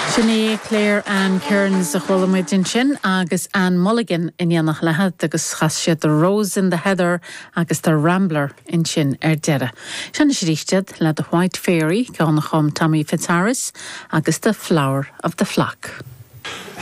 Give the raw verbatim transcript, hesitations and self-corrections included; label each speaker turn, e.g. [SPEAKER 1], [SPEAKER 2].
[SPEAKER 1] Sin í Claire Ann Kearns a chuala muid ansin agus Ann Mulligan in éineacht léi agus chas siad The Rose in the Heather agus The Rambler ansin ar deireadh. Sin arís le The White Fairy ceann a chum Tommy Fitzharris agus The Flower of the Flock.